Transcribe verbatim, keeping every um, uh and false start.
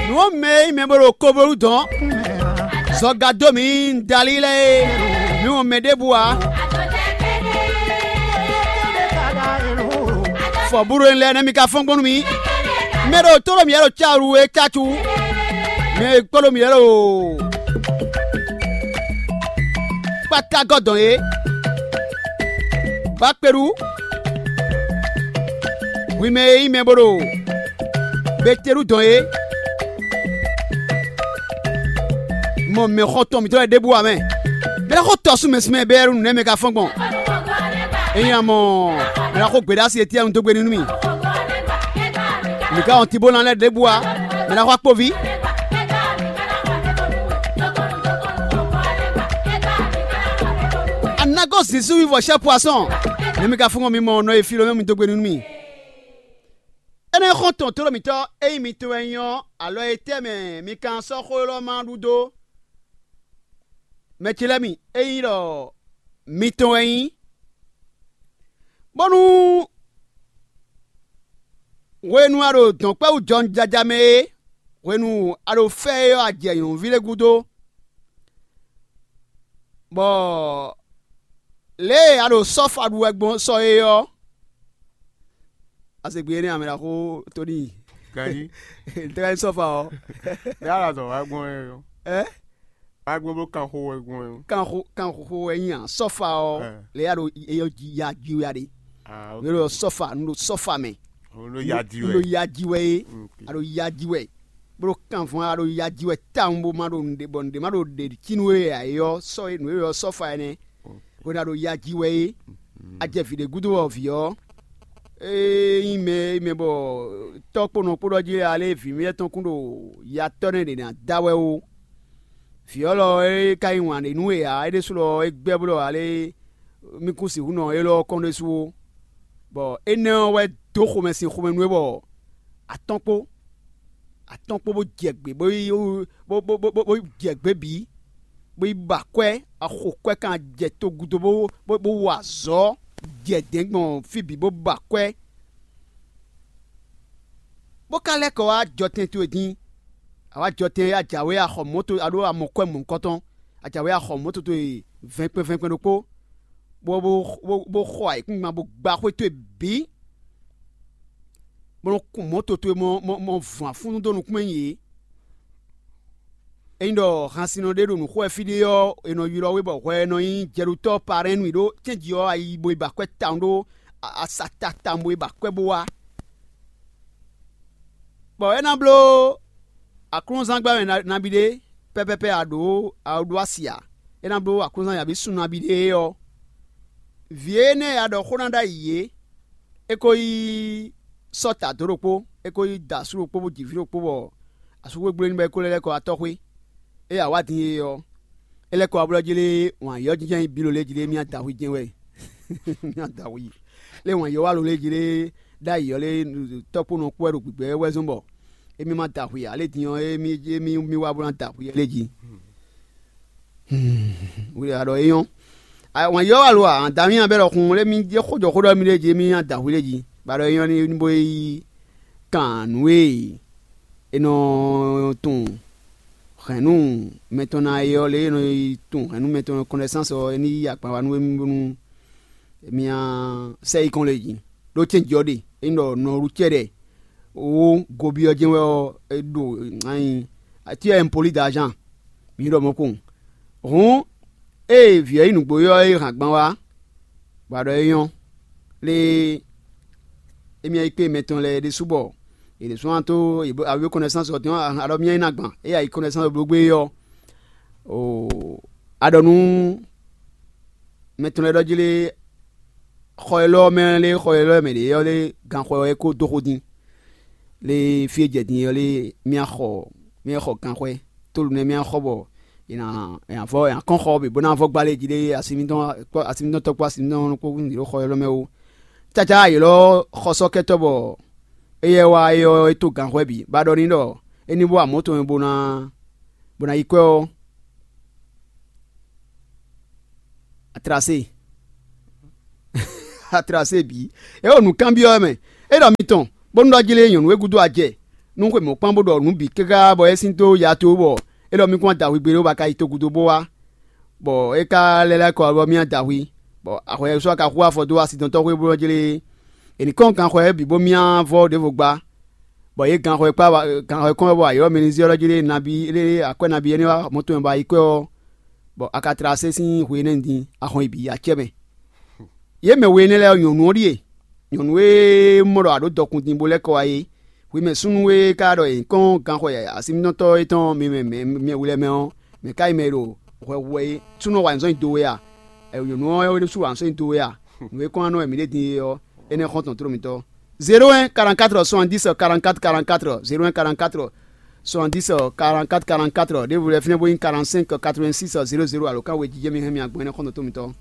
Nǔ ɔ́, mɛ e nyí mɛ bó ɖo koblóɖu dɔn zɔga dó mǐ dalí lɛ́ɛ é, mǐ mɔ mɛ ɖěbǔ ǎ. Fɔbúɖo lɛ́ɛ nɛ́ mi ka fɔ́n gbɔn nú mì. Mɛ ɖo tó ɖo mǐ lɛ́ɛ ɖo cáwǔ e cácu. Mɛ e kpɔ́ ɖo mǐ lɛ́ɛ ɖo kpátágɔ́ dɔn é. Bakpeɖu, hwi mɛ e nyí mɛ bó ɖo Betelu dɔn é, mɔ mɛ xɔtɔn mǐtɔn lɛ́ɛ ɖěbǔ ǎ mɛ. Mɛ lɛ́ɛ xo tɔ sú mɛ sín mɛ bɛ́ nǔ nɛ́ mɛ ka fɔ́n gbɔn. Ényí a mɔ mɛ lɛ́ɛ xo gběɖásí etí anu dó gbe ní nú mì. Mǐ ka wɔn Tibólan lɛ́ɛ ɖěbǔ ǎ. Mɛ lɛ́ɛ xo akpoví. Anagó zǐnzú wívɔ sɛ́ poisɔn. Nɛ́ mɛ ka fɔ́n gbɔn mi mɔ nɔ e fí lɔ mɛ mi dó gbe ní nú mì. Énɛ́ xɔ́n tɔn tlóló mǐtɔn e nyí mitɔn wɛ nyí ɔ́, alɔ e tɛ́ mɛ mi ka sɔ́ xó élɔ́ ma ɖu dó? Mɛ ce lɛ́ɛ mi, é nyí ɖɔ mitɔn wɛ nyí, bónú hwenu a ɖo dɔ̌nkpɛ́wú jɔnjaja mɛ é, hwenu a ɖo fɛ́ é ɔ́, a jɛ nyɔ̌nuví lɛ́ɛ gúdo, bɔ lě e a ɖo sɔ́fa ɖu wɛ gbɔn sɔ é ɔ́, a se gbe énɛ́ ǎ, mɛ ɖaxó Tóni. Ganjí. Tɛ́ ka nyí sɔ́fa ɔ́? Bɛ́ a ɖo azɔ̌ wa gbɔn wɛ ɔ́. Ɛ? Wa gbɔn bó kan xó wɛ gbɔn wɛ ɔ́. Kan xó kan xó wɛ nyí a sɔ́fa ɔ́? Ɛ. Lě a ɖo eyɔ jí ya jí wɛ a ɖe. Ah, ok. Yě ɖo sɔ́fa, un ɖo sɔ́fa mɛ. Un ɖo ya jí wɛ. Un ɖo ya jí wɛ é. Ok. A ɖo ya jí wɛ. Bó ɖo kanvɔn a ɖo ya jí wɛ tawun bó ma ɖo nǔɖé bɔ nǔɖé ma ɖo ɖe cínu e ǎ é ɔ́ sɔ́ é nǔ e ɔ́ sɔ́fa ɛnɛ. Hwenu a ɖo ya jí wɛ é, a jɛ vǐ ɖé gúdo ɔ́ vǐ ɔ́, é nyí mɛ e mɛ bɔ tɔ́ kpó nɔ kpó ɖɔ jí ale vǐ mɛ tɔn kún ɖo ya tɔ́ nɛ́ ɖě ná da wɛ ó. Vǐ ɔ́ lɔ é ka nyí wǎn ɖé nú we ǎ, é ɖésú lɔ é gbɛ́ bló ale mí kún sixú nɔ élɔ́ ɔ́ kɔn ɖésú ó. Bɔ énɛ́ ɔ́ wɛ dó xomɛ sín xomɛ nú é bɔ atɔ́n kpó atɔ́n kpó bó jɛ gbě bó yi bó bó bó bó jɛ gbě bǐ, bó yi ba akwɛ́, axo kwɛ́ kan jɛ togúdo bó bó bó wa azɔ̌ jɛ dɛ̌n gbɔn fí bǐ bó ba akwɛ́, bó ka lɛ́ kɔ wá jɔtɛn towe dín. A wá jɔtɛn e a jǎwe a xɔ mɔ̌ towe a ɖó a mɔ kwɛ́ mɔ̌hunkɔtɔn, a jǎwe a xɔ mɔ̌ towe vɛnkpɛn vɛnkpɛn ɖokpó, bó bó bó bó xɔ ayǐkúngban bó gba xwé towe bǐ, bó nɔ́ kun mɔ̌ towe mɔ mɔ mɔ vun afúnnu dó nukún mɛ nyi yě. Ényí ɖɔ hansinnɔ ɖé ɖo nǔ xo wɛ fí ɖé ɔ́, è nɔ ylɔ́ we bɔ hwɛ ɛ nɔ nyí jɛɖotɔ́ Parɛ́nnu ɖó cɛ́nji ɔ́, a yi bo yi ba akwɛ́ tawun ɖó asata tawun bo yi ba akwɛ́ bó wá. Bɔ é ná bló aklúnɔzán gbɛ́ mɛ nabí ɖé pɛ́pɛ́pɛ́ a ɖǒ a ɖó asi ǎ; é ná bló aklúnɔzán nyaví sun nabí ɖé ɔ́, vǐ énɛ́ e a ɖɔ xó ná ɖ'ayǐ é, é ko yi sɔ́ ta dǒ ɖokpó, é ko yi da asú ɖokpó bó ji vǐ ɖokpó bɔ asúxwé gbló ní bɔ é ko lɛ́ lɛ́ kɔ wá tɔ́xwé. Ée a wǎ din é ɔ́, é lɛ́ kɔ wá blɔ́ jí lé wǎn yɔ́ jínjɔ́n nyi bǐ lě jí lé mì adǎhwi jɛ́n wɛ. Mì adǎhwi lé wǎn yɔ́ wá lo lé jí lé ɖ'ayǐ ɔ́ lé tɔ́kpónɔ kpó wɛ ɖo gbǐgbɛ́ wɛ zɔ́n bɔ émí ma da hwe ǎ. Lě din ɔ́, émí émí mì wá bó ná da hwe lé jí. Hwi ɖe a ɖɔ é nyɔ́. Wǎn yɔ́ wá lo ǎ, da mì nya bɛ́ ɖɔ xun lé mì jɛ xójɔxó ɖɔ mì lé jí émí nya da hwe lé jí. Ba ɖɔ é nyɔ́ ní bó yi kan nǔ e è nɔ tunwun hɛ̌nnu mɛtɔn ná é ɔ́ lě e è nɔ yi tunwun hɛ̌nnu mɛtɔn kɔnɛsánsɔ ɔ́, é ní yí akpan wá nú émí bónú mì nya sɛ yi kɔn lě jí. Ɖó cɛ́nji ɔ́ ɖe, é nyí ɖɔ nɔɖucɛ́ɖɛ wó gobyɔ́ jɛ́n wɛ ɔ́, é ɖo anyi, tu es impoli d'argent. Mi ɖɔ mɔ̌ kpowun. Hǔn, ée vǐ ɔ́ yi nǔgbó ɔ́ e hǎngban wá, bɔ a ɖɔ é nyɔ́, lé émí yi kpé mɛtɔn lɛ́ɛ ɖésú bɔ yě ɖésú ná tó awi kɔnɛsánsɔ tɔn a ɖɔ mì yi ná gban, ée a yi kɔnɛsánsɔ bló gbé ɔ́, o a ɖɔ nú mɛtɔn lɛ́ɛ ɖɔ jí lé xɔ élɔ́ mɛ lé xɔ élɔ́ mɛ ɖě ɔ́ lé ganxɔ ɔ́ é kó dó xó dín. Lé fí e jɛ din ɔ́ lé mì xɔ mì xɔ ganxɔɛ, tólu nɛ́ mì xɔ bɔ è nǎ è nǎ vɔ è nǎ kɔn xɔ bǐ bó ná vɔ gbá lé jí lé asi mǐtɔn kpó asi mǐtɔn tɔ́ kpó asi mǐtɔn kpó nǔ ɖó xɔ élɔ́ mɛ ó. Cácá yě lɔ xɔsɔ́kɛtɔ́ bɔ éyɛ́ wá é ɔ́ é tó ganxɔɛ bǐ bá ɖɔ n'i ɖɔ é ní bó amɔ̌ tɔn bó ná bó ná yi kwɛ́ ɔ́, atlase atlase bǐ. É ɖo nǔkanbyɔ́ wɛ mɛ. É ɖɔ mitɔn bónú ɖɔ jí lé nyɔ̌nu e gúdo a jɛ nú xwe mɔ̌kpán bó ɖɔ nǔ bǐ káká bɔ é sín dó ya towe bɔ é ɖɔ mì kún adahwi gbe ɖó bɔ a ka yi togúdo bó wá, bɔ é ka lɛ́ lɛ́ kɔ bɔ mì adahwi, bɔ ahwɛ ɔ́ sɔ́ ka xú afɔ dó asidɔntɔ́ xwé bó jlé. È nǐ kɔn ganxɔ ɔ́ bǐ bó myá vɔ́ ɖěvo gbá, bɔ yě ganxɔ e kpá ganxɔ e kɔn wɛ bɔ ayǐ ɔ́ mɛ ní zé ɔ́ jí lé nabí lé akwɛ́ nabí énɛ́ wá mɔ̌ tɔn mɛ bɔ ayǐ kwɛ́ ɔ́, bɔ a ka tlá asé sín hwe énɛ́ din a hɔn yi bǐ yi acɛ mɛ. Yě mɛ we énɛ́ lɛ́ɛ ɔ́, nyɔ̌nu ɔ́ ɖíe, nyɔ̌nu e mɔ ɖɔ a ɖǒ dɔkun din bó lɛ́ kɔ wá é. Hwi mɛ súnnu e ka ɖɔ è nyǐkɔ́n ganxɔ asimítɔ́tɔ́ é tɔn mi mɛ mɛ hu lɛ́ɛ mɛ ɔ́, mɛ̌ ka nyí mɛ e ɖo hwɛ hu wɛ é? Súnnu ɔ́ wa nyi zɔ́n nyi do we a? Nyɔ̌nu ɔ́ wɛ ɖésú wa nyi zɔ́n nyi do we a? Nǔ e kɔn wá nɔ wɛ mǐ ɖe din é ɔ́, énɛ́ xɔ́ntɔn tló mitɔn. Zéro un quarante-quatre soixante-dix quarante-quatre quarante-quatre, zéro un quarante-quatre soixante-dix quarante-quatre quarante-quatre, ɖěvo lɛ́ɛ fínɛ́ bó nyí quarante-cinq quatre-vingt-six zéro zéro, alo ká wejijɛ mi hɛn mi agbɔn énɛ́ xɔ́ntɔn tló mitɔn.